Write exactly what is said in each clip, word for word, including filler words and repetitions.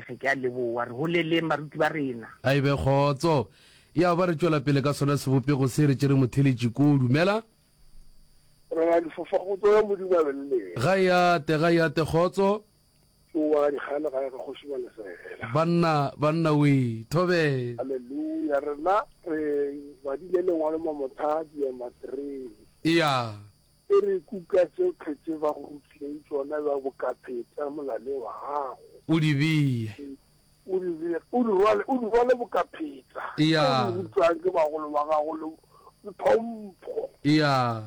sege. Ke a leboa. Re holeleng baruti ba rena. A e be kgotso. Ya ba re tšwela pele ka sona sebopego se, re tšere motheletši ko. Dumela. Morena difofa kgotso ya Modimo a be le lena. Ga e ate, ga e ate kgotso. Ke o wa dikgale gae ga kgoši Malesela. Banna, banna wee, thobela. Haleluya, rena re badile lengwalo Mamotha diema three. Eya. E re kuka tšohle tše ba go rutileng tšona bja bokapheta molaleng wa gago. O di bee. O di bee, o di rwale, o di rwale bokapheta. Eya. Tše o di rutwang ke bagolo ba gago le, le tlhompho. Eya.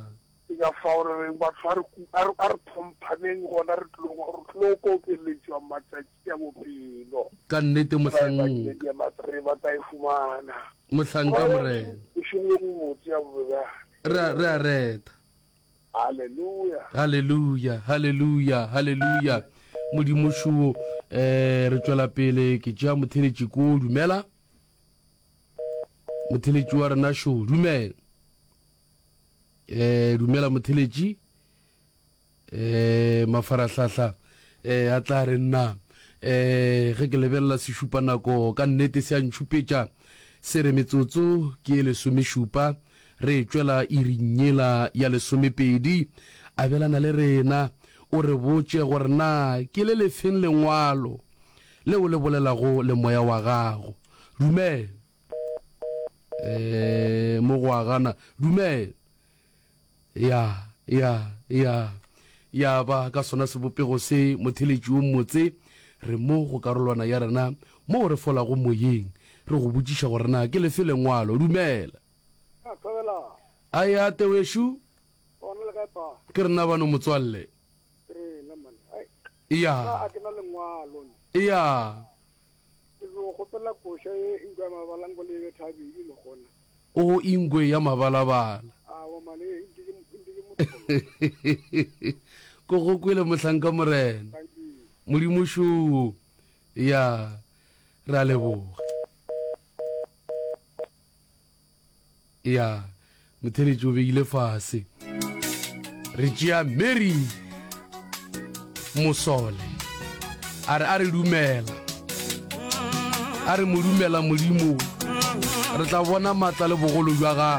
Ke ka fao re reng batho a re ku, a re, a re tlhomphaneng gona re tlo, re tlo kokeletšwa matšatši a bophelo. Ka nnete Ba e mohlanka. badile diema three ba tla e fumana. Mohlanka Morena. Bošego bjo bobotse ya bobjale. Re a, re a reta. Haleluya. Haleluya, haleluya, haleluya. Modimo šo, eh, re tšwela pele ke tšea motheletši ko, dumela. Motheletši wa rena šo, dumela. Eh, dumela motheletši. Eh, mafarahlahla eh, a tla re nna eh, ge ke lebelela sešupanako ka nnete se a ntšhupetša se re metsotso ke e lesomešupa re e tšwela iring yela ya lesomepedi. Abelana le rena o re botše gore na ke le lefeng lengwalo leo le bolelago le moya wa gago. Dumela. Eh, mo go agana. Dumela. Ya, ya, ya. Ya ba ka sona sebopego se, motheletši wo mmotse, re mo go karolwana ya rena moo re folago moyeng, re go botšiša gore na ke lefe lengwalo. Dumela. A thobela. A ya te wešo. Gona le kae pa? Ke rena bano motswalle. Ke rena man. Ai. Ya. Nna a ke na lengwalo. Ya. Ke go kgopela koša ye ingwe ya mabala nko le e betha bedi le gona. O ingwe ya mabalabala. Awa man e nke ke nke ke motlolo. Ko go kwele mohlanka Morena. Modimo šo. Ya. Re a leboga. Ya. Motheletši o beile fase. Re tšea Mary Mosole. A re a re dumela. A re mo dumela Modimo. Re tla bona matla le bogolo bja gagwe.